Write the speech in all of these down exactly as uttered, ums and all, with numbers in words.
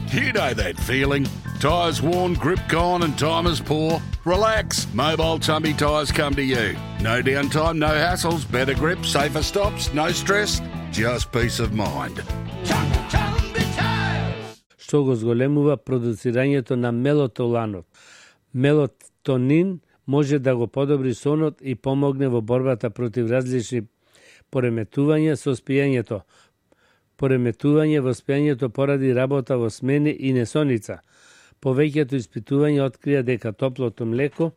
You know that feeling. Tyres worn, grip gone and time is poor? Relax. Mobile Tummy Tyres come to you. No downtime, no hassles, better grip, safer stops, no stress, just peace of mind. Што го зголемува продуцирањето на мелатонинот. Мелатонин може да го подобри сонот и помогне во борбата против различни пореметувања со спиењето. Пореметување во спиењето поради работа во смени и несоница. Повеќето испитувања открија дека топлото млеко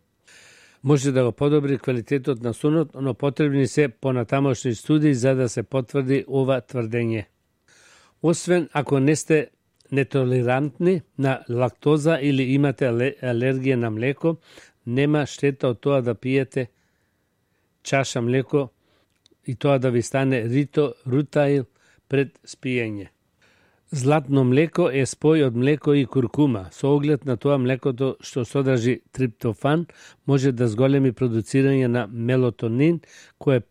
може да го подобри квалитетот на сонот, но потребни се понатамошни студии за да се потврди ова тврдење. Освен ако не сте нетолерантни на лактоза или имате алергија на млеко, нема штета од тоа да пиете чаша млеко и тоа да ви стане рито рутаил пред спиење. Златно млеко е спој од млеко и куркума. Со оглед на тоа млекото што содржи триптофан може да зголеми продуцирање на мелатонин, кој е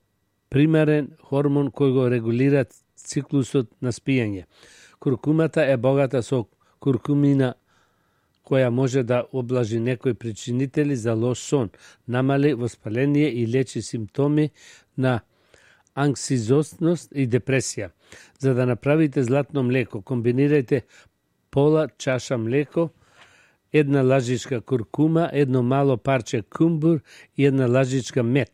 примарен хормон кој го регулира циклусот на спиење. Куркумата е богата со куркумина која може да облажи некои причинители за лош сон, намали воспаление и лечи симптоми на анксизосност и депресија. За да направите златно млеко, комбинирајте пола чаша млеко, една лажичка куркума, едно мало парче кумбур и една лажичка мед.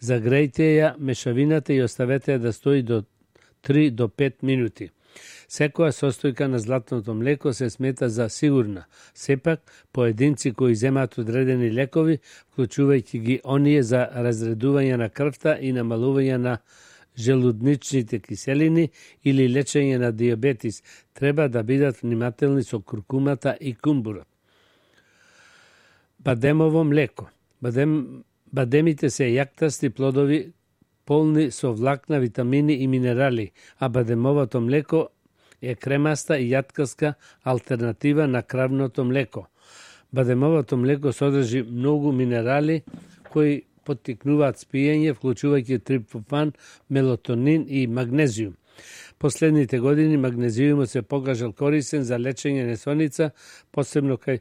Загрејте ја мешавината и оставете ја да стои до три до пет минути. Секоја состојка на златното млеко се смета за сигурна. Сепак, поединци кои земаат одредени лекови, вклучувајќи ги оние за разредување на крвта и намалување на желудничните киселини или лечење на диабетис, треба да бидат внимателни со куркумата и кумбурот. Бадемово млеко. Бадем, бадемите се јактасти плодови полни со влакна, витамини и минерали, а бадемовото млеко е кремаста и јаткаска алтернатива на кравното млеко. Бадемовото млеко содржи многу минерали кои поттикнуваат спиење, вклучувајќи триптофан, мелатонин и магнезиум. Последните години магнезиумот се покажал корисен за лечење несоница, посебно кај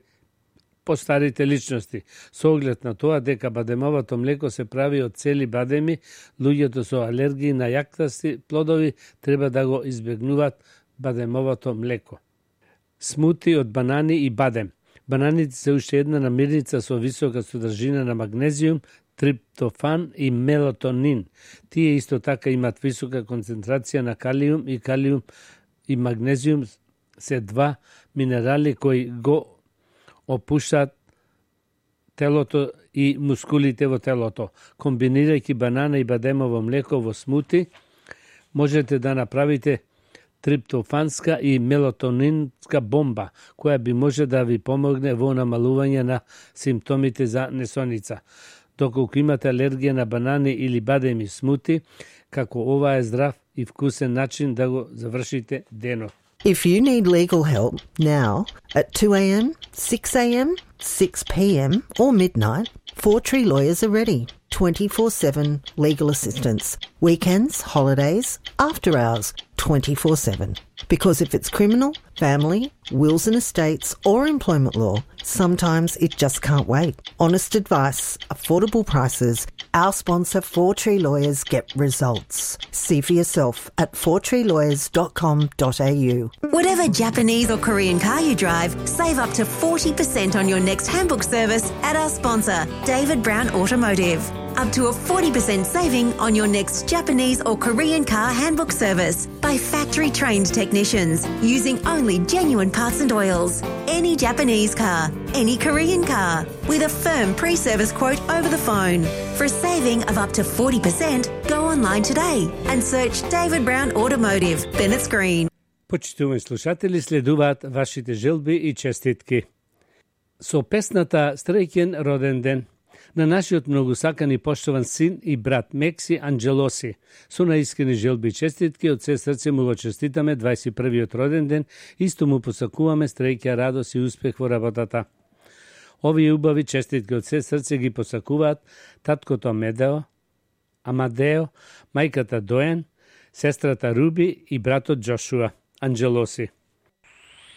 постарите личности. Со оглед на тоа дека бадемовото млеко се прави од цели бадеми, луѓето со алергии на јактасти плодови треба да го избегнуваат бадемовото млеко. Смути од банани и бадем. Бананите се уште една намирница со висока содржина на магнезиум, триптофан и мелатонин. Тие исто така имат висока концентрација на калиум и калиум и магнезиум се два минерали кои го опуштаат телото и мускулите во телото. Комбинирајќи банана и бадемово млеко во смути, можете да направите триптофанска и мелатонинска бомба, која би може да ви помогне во намалување на симптомите за несоница. Доколку имате алергија на банани или бадеми смути, како ова е здрав и вкусен начин да го завршите денот. If you need legal help now at two a.m., six a.m., six p.m. or midnight, Four Tree Lawyers are ready. twenty-four seven legal assistance. Weekends, holidays, after hours, twenty-four seven. Because if it's criminal, family, wills and estates or employment law, sometimes it just can't wait. Honest advice, affordable prices. Our sponsor Four Tree Lawyers get results. See for yourself at four tree lawyers dot com dot a u. Whatever Japanese or Korean car you drive, save up to forty percent on your next handbook service at our sponsor, David Brown Automotive. Up to a forty percent saving on your next Japanese or Korean car handbook service by factory-trained technicians using only genuine parts and oils. Any Japanese car, any Korean car, with a firm pre-service quote over the phone. For a saving of up to forty percent, go online today and search David Brown Automotive, Bennett's Green. Почитувани слушатели, следуваат вашите желби и честитки. Со песната Среќен роден ден на нашиот многу сакан и поштован син и брат Мекси Анджелоси. Со наискрени желби и честитки од се срце му го честитаме дваесет и првиот роден ден, исто му посакуваме среќа, радост и успех во работата. Овие убави честитки од се срце ги посакуваат таткото Амедео, Амадео, мајката Доен, сестрата Руби и братот Джошуа Анджелоси.